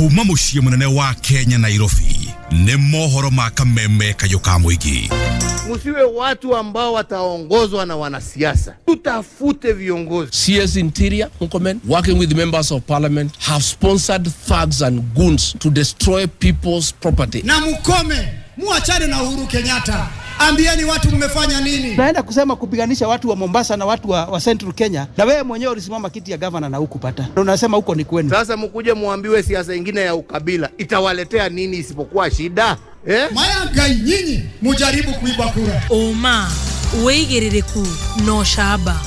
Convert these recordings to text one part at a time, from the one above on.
Kuma muciĩ munene wa Kenya Nairobi nĩ mohoro ma kameme kayũ ka mũingĩ. Musiwe watu ambao wataongozwa na wanasiasa, tutafute viongozi. CS Interior Murkomen, working with members of parliament, have sponsored thugs and goons to destroy people's property. Na mukome, muachane na Uhuru Kenyatta. Ambieni watu mmefanya nini? Naenda kusema kupiganisha watu wa Mombasa na watu wa Central Kenya, na wewe mwenyewe ulisimama kiti ya governor na hukupata. Unasema huko ni kwenu. Sasa mkuje muambiwe siasa ingine ya ukabila itawaletea nini isipokuwa shida? Eh? Maya nyinyi mujaribu kuiba kura. Oma wigiririku no shaba.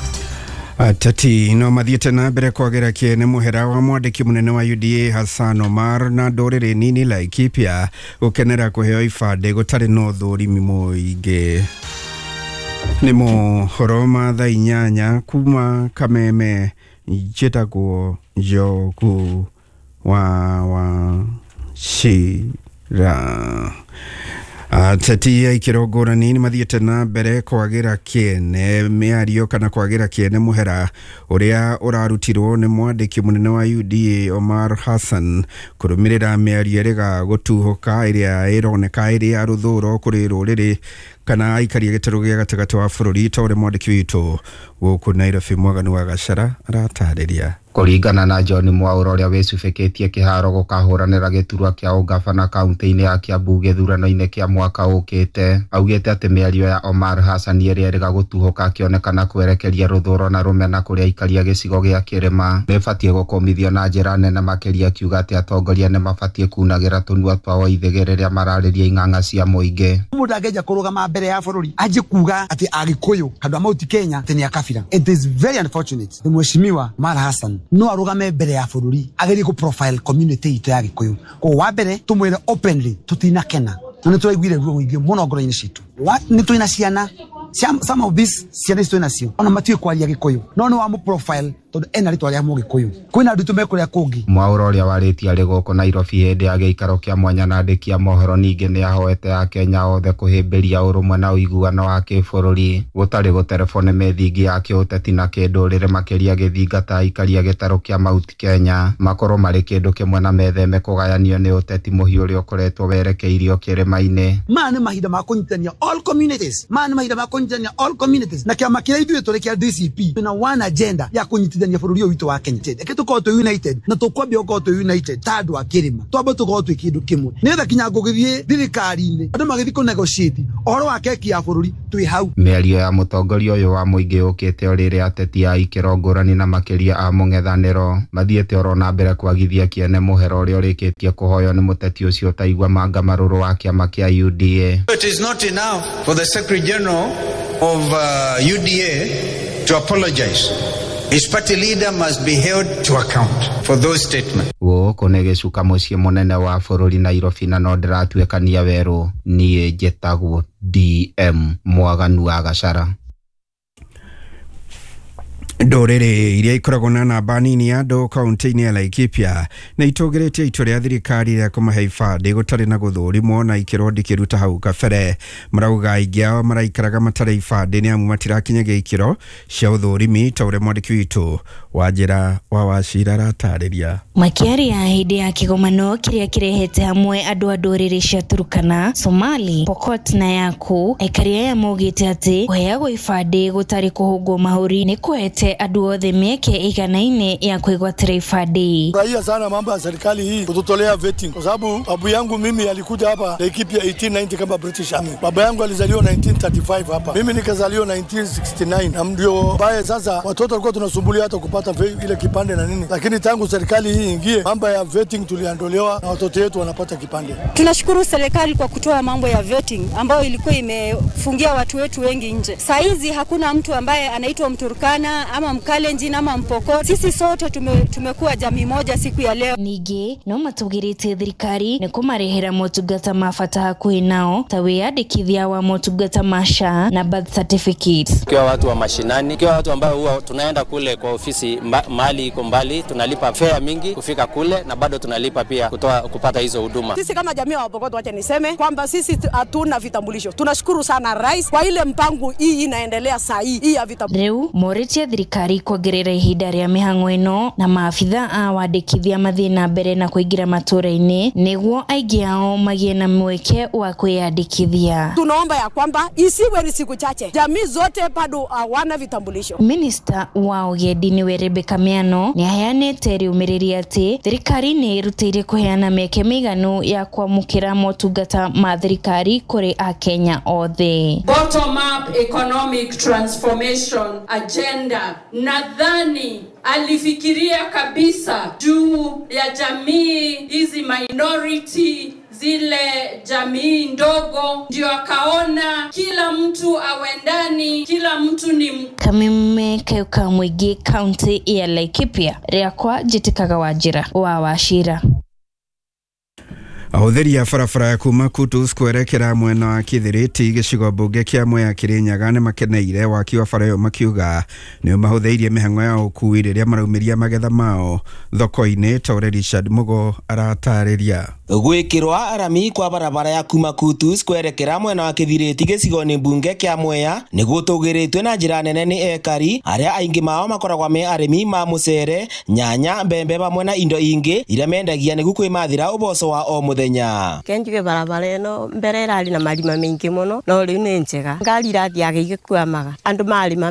Ateti no mathiete na mbere kwagera kiene muhera wa mwandiki munene wa UDA Hassan Omar na nduriri nini Laikipia gukenera kuheo ibande gutari no thurimi muingi. Ni mohoro ma thaa 8 kuma Kameme, njitagwo Njogu wa Wachira. Ateti a ikĩro ngũrani nĩ mathiĩte na mbere kwagĩra kĩene mĩario kana kwagĩra kĩene mũhera ũrĩa ũrarutirwo nĩ mwandĩki mũnene wa UDA Omar Hassan kũrũmĩrĩra mĩario ĩrĩga gũtuhũka ĩrĩa ĩroneka ĩrĩ ya rũthũro kũrĩ rũrĩrĩ kana aikaria gĩtarũ gĩa gatagatĩ wa bũrũri ta ũrĩa mwandĩki witũ gũkũ Nairobi Mwaganu wa Gachara aratarĩria. Kũringana na John Mwaura ũrĩa wĩcubĩkĩtie kĩharo gũkahũranĩra gĩturwa kĩa ũgavana kaunti-inĩ ya Kiambu gĩthurano-inĩ kĩa mwaka ũkĩte, augĩte atĩ mĩario ya Omar Hassan ĩrĩa ĩrĩga gũtuhũka akĩonekana kwerekeria rũthũro na rũmena kũrĩ aikaria gĩcigo gĩa kĩrĩma nĩbatiĩ gũkũmithio na njĩra nene makĩria, akiuga atĩ atongoria nĩmabatiĩ kunagĩra tũnua twao ithĩgĩ rĩrĩa mararĩria ing'ang'a cia mũingĩ. Mũndũ angĩanjia kũrũgama mbere ya bũrũri anjie kuga atĩ Agĩkũyũ handũ a Mount Kenya atĩ nĩ a kabira. It is very unfortunate. Mheshimiwa Omar Hassan no arugame mbere ya bũrũri agerie kũ profile community itũ ya Gĩkũyũ. Koguo wa mbere tũmwĩre openly tũtinakena na nĩ tũraiguire ruo rũingĩ mũno ngoro-inĩ citũ. Nĩ twĩna ciana, some of these ciana ici twĩ nacio ona matiũĩ kwaria Gĩkũyũ, no nĩ wa profile tondũ ena rĩtwa rĩa Mũgĩkũyũ. Kwĩna andũ me kũrĩa kũngĩ. Mwaura ũrĩa warĩtie arĩ gũkũ Nairobi hĩndĩ ya gĩikaro kĩa mwanya na andĩki a mohoro ningĩ nĩ ahoete Akenya othe kũhĩmbĩria ũrũmwe na ũiguano wa kĩbũrũri gũtarĩ gũterebwo nĩ mĩthingi ya kĩũteti na kĩndũrĩrĩ, makĩria gĩthingata aikaria gĩtarũ kĩa Mount Kenya makorwo marĩ kĩndũ kĩmwe na metheme kũgayanio nĩ ũteti mũhiũ ũrĩa ũkoretwo werekeirio kĩrĩma-inĩ. Maya nĩ mahinda ma kũnyitania all communities. Maya nĩ mahinda ma kũnyitania all communities. Na kĩama kĩrĩa ithuĩ tũrĩ kĩa DCP na one agenda ya kũnyitithania bũrũri ũyũ witũ wa Kenya. Reke tũkorwo twĩ united na tũkwambia gũkorwo twĩ united ta andũ a kĩrĩma, twambe tũkorwo twĩ kĩndũ kĩmwe nĩgetha kinya ngũgĩthiĩ thirikari-inĩ andũ magĩthiĩ kũ negotiate ũhoro wa keki ya bũrũri twĩ hau. Mĩario ya mũtongoria ũyũ wa mũingĩ yũkĩte o rĩrĩa ateti a ikĩro ngũrani na makĩria a mũng'ethanĩro mathiĩte oro na mbere kwagithia kĩene mũhera ũrĩa ũrĩkĩtie kũhoywo nĩ mũteti ũcio ũtaigua manga marũrũ wa kĩama kĩa UDA. It is not enough for the Secretary General of UDA to apologize. His party leader must be held to account for those statements. Gũkũ nĩ gĩcuka mũciĩ mũnene wa bũrũri Nairobi na no ndĩratuĩkania werũ. Niĩ njĩtagwo DM Mwaganu wa Gachara. Ndũrĩrĩ iria ikoragwo na namba nini ya andũ kaunti-inĩ ya Laikipia nĩ itũgĩrĩtie itua rĩa thirikari rĩa kũmahe ibandĩ gũtarĩ na gũthũrimwo na ikĩro ndikĩruta hau kabere. Marauga aingĩ ao maraikaraga matarĩ ibandĩ nĩ amu matirakinyagia ikĩro cia ũthũrimi ta ũrĩa mwandĩki witũ wa njĩra wa Wachira aratarĩria. Makĩaria hĩndĩ ya kĩgomano kĩrĩa kĩrehete hamwe andũ a ndũrĩrĩ cia Turkana, Somali, Pokot na Yaku, aikari aya maugĩte atĩ kũheagwo ibandĩ gũtarĩ kũhũngwo mahũri nĩ kũhete andũ othe mĩeke iganaine ya kwĩgwatĩra ibandĩ. Furahia sana mambo ya serikali hii kututolea vetting, kwa sababu babu yangu mimi alikuja hapa Laikipia 1890 kama British Army. Baba yangu alizaliwa 1935 hapa, mimi nikazaliwa 1969, na ndio bae sasa watoto walikuwa tunasumbulia hata kupata ile kipande na nini, lakini tangu serikali hii ingie mambo ya vetting tuliandolewa na watoto wetu wanapata kipande. Tunashukuru serikali kwa kutoa mambo ya vetting ambayo ilikuwa imefungia watu wetu wengi nje. Saa hizi hakuna mtu ambaye anaitwa Mturkana ama Mkalenjin ama Mpokot. Sisi sote tumekuwa jamii moja siku ya leo. Ningĩ no matugĩrĩtie thirikari nĩ kũmarehera motungata ma bata hakuhĩ nao ta wĩyandĩkithia wa motungata ma SHA na birth certificates. Kwa watu wa mashinani, kwa watu ambao huwa tunaenda kule kwa ofisi mahali iko mbali, tunalipa fare mingi kufika kule na bado tunalipa pia kutoa kupata hizo huduma. Sisi kama jamii wa Pokot, wacha niseme kwamba sisi hatuna vitambulisho. Tunashukuru sana rais kwa ile mpango hii inaendelea saa hii ya vitambulisho. Rĩu morĩtie thirikari thirikari kuongerera ihinda rĩa mĩhang'o ĩno na maabitha a wandĩkithia mathiĩ na mbere na kũingĩra matũũra-inĩ nĩguo aingĩ ao magĩe na mweke wa kwĩyandĩkithia. Tunaomba ya kwamba isiwe ni siku chache, jamii zote bado hawana vitambulisho. Minista wa ũgendi nĩwe Rebecca Miano nĩ aheanĩte rĩũmĩrĩri atĩ thirikari nĩ ĩrutĩire kũheana mĩeke mĩiganu ya kwamũkĩra motungata ma thirikari kũrĩ akenya othe. Bottom up economic transformation agenda, nadhani alifikiria kabisa juu ya jamii hizi minority, zile jamii ndogo, ndio akaona kila mtu awendani, kila mtu ni Kameme Kayuka Mwingi, kaunti ya Laikipia, rĩakwa njĩtĩkaga Wanjĩra wa Wachira. Ahũthĩri a barabara ya kuma Kutus kwerekera mwena wa Kithiriti gĩcigo mbunge kĩa Mwea Kĩrĩnyaga nĩ makeneire waki wa bara ĩyo makiuga nĩ mahũthĩirie mĩhang'o ya ũkui rĩrĩa maraumĩria magetha mao thoko-inĩ ta ũrĩa Richard Mugo aratarĩria. Gwĩkĩrwa rami kwa barabara ya kuma Kutus kwerekera mwena wa Kithiriti gĩcigo-inĩ mbunge kĩa Mwea nĩ gũtũgĩrĩtwe na njĩra nene nĩ ekari arĩa aingĩ mao makoragwo me arĩmi ma mũcere, nyanya, mbembe hamwe na indo ingĩ iria mendagia nĩguo kwĩmathĩra ũboco wa o mũthenya. Kenjuge barabara ĩno mbere ĩrarĩ na marima maingĩ mũno no rĩu nĩ njega, ngari irathiaga igĩkwamaga, andũ marĩma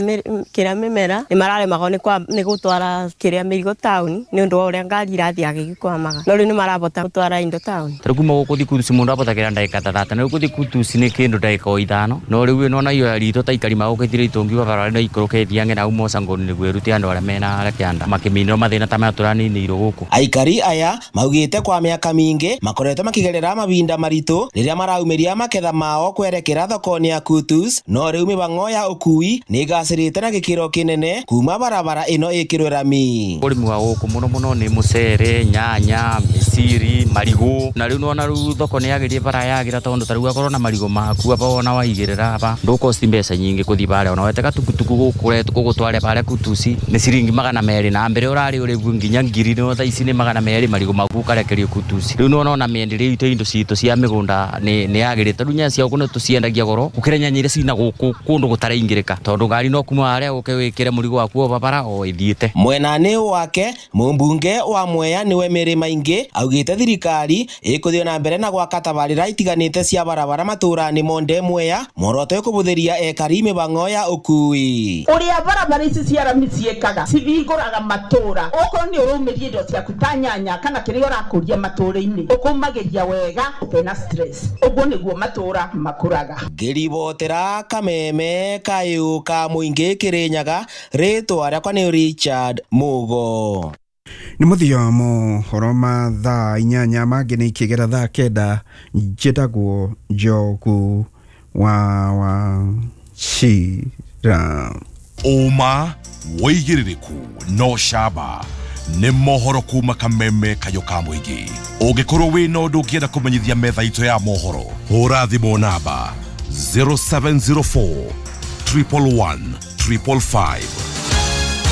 kĩrĩa mĩmera nĩ mararemagwo nĩ gũtwara kĩrĩa mĩrigo taũni nĩ ũndũ wa ũrĩa ngari irathiaga igĩkwamaga, no rĩu nĩ marabota gũtwara indo taũni. Tarĩu kuma gũkũ thiĩ Kutus mũndũ abotagĩra ndagĩka ta 30 na rĩu gũthiĩ Kutus nĩ kĩndũ ndagĩka o 5 no rĩu ĩno ona iyo ritũ ta ikari magũkĩtire itungiuga barabara ĩno ikũrũke ĩthiange na uma Cangoni nĩguo ĩrute andũ arĩa mena harĩa kĩanda makĩminĩrwo mathĩna ta maya tũraninĩirwo gũkũ. Aikari aya maugĩte kwa mĩaka mĩingĩ makoretwo makigerera mabinda maritu rĩrĩa maraumĩria maketha mao kwerekera thoko-inĩ ya Kutus, no rĩu mĩhang'o ya ũkui nĩ ĩgacĩrĩte na gĩkĩro kĩnene kuma barabara ĩno ĩkĩrwe rami. Ũrĩmi wa gũkũ mũno mũno nĩ mũcere, nyanya, mĩciri, marigũ na rĩu nĩwona rĩu thoko nĩ yagĩrire bara yagĩra tondũ ta rĩu akorwo na marigũ maku aba wona waigĩrĩra aba ndũkosti mbeca nyingĩ kũthiĩ barĩa ona weteka tukutuku gũkũ gũgũtware barĩa Kutus nĩ ciringi 200 na mbere ũrarĩ ũrĩgu nginya 1000 no thaa ici nĩ 200 marigũ maku ũkarekerio Kutus. Rĩu nĩwona ona mĩenderie itũ indo citũ cia mĩgũnda nĩ yagĩrĩte rĩu nyanya cia gũkũ nĩ tũciendagia goro gũkĩra nyanya iria cina gũkũ kũndũ gũtaraingĩrĩka tondũ ngari no kuma harĩa ũke wĩkĩre mũrigo waku o barabara o ĩthiĩte. Mwena-inĩ wake mũmbunge wa Mwea nĩwe Mary Maingi augĩte thirikari ĩkũthiĩ na mbere na gwaka tabarĩra itiganĩte cia barabara matũũra-inĩ monde Mwea muoroto kũbũthĩria ekari mĩhang'o ya ũkui. Ũrĩa barabara ici cia rami ciĩkaga cihingũraga matũũra, okorwo nĩ ũraumĩria indo ciaku ta nyanya kana kĩrĩa ũrakũria matũũra-inĩ ũkũmagĩria wega ũtena stress, ũguo nĩguo matũũra makũraga. Ngĩribotera Kameme Kayũ ka Mũingĩ Kĩrĩnyaga, rĩtwa rĩakwa nĩ Richard Mugo. Nĩ mũthia mohoro ma thaa 8 mangĩ nĩ ikĩgera thaa 9. Njĩtagwo Njogu wa Wachira. Ũma wĩigĩrĩrĩku no camba nĩ mohoro kuma Kameme Kayũ ka Mũingĩ. Ũngĩkorwo wĩna ũndũ ũngĩenda kũmenyithia metha itũ ya mohoro, hũra thimũ namba 0704 111 555.